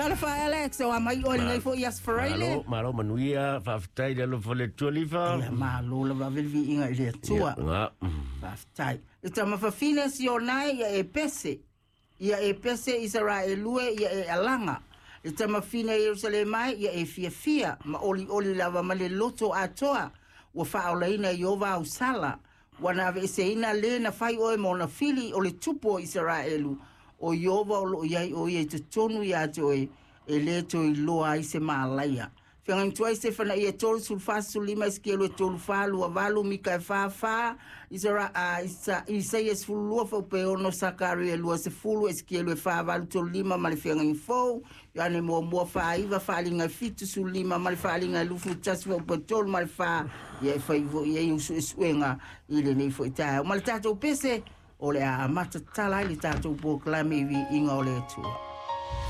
Talofa e Alex, o a mai oe i lenei foi Aso Faraile. Malo, malo manuia, faafetai i le alofa o le Atua Lifa. Ia malo lava ave le viiga i le Atua. Ia, Faafetai. Le tama fafine Sionae ia e pese. Ia e pese Isaraelu e ia e alaga. Le tamafine Ierusalema e ia e fiafia ma olioli lava ma le loto atoa. Ua faaolaina e Ieova au sala. Ua na aveeseina lē na fai oe ma ona fili o le tupu o Isaraelu. O Ieova o loo i ai o ia i totonu iā te oe, e lē toe iloa ai se malaia. Feagaiga tuai Sefanaia 3, 14, 15, Esekielu 3, 4, 2, 8, Mika 4, 4, Isara, Isa, Isaia 12, Faupe 6, Sakaria 20, Esekielu 4, 8, 3, 5 ma le Feagaiga Fou, Ioane muamua 4, 9, Faaaliga 7, 15 ma le Faaaliga 21, Faupe 3 ma le 4, ia e fai foi i ai suesuega i lenei foi taeao. Ma le tatou pese, o le a amata tatala ai le tatou polokalame i viiga o le Atua.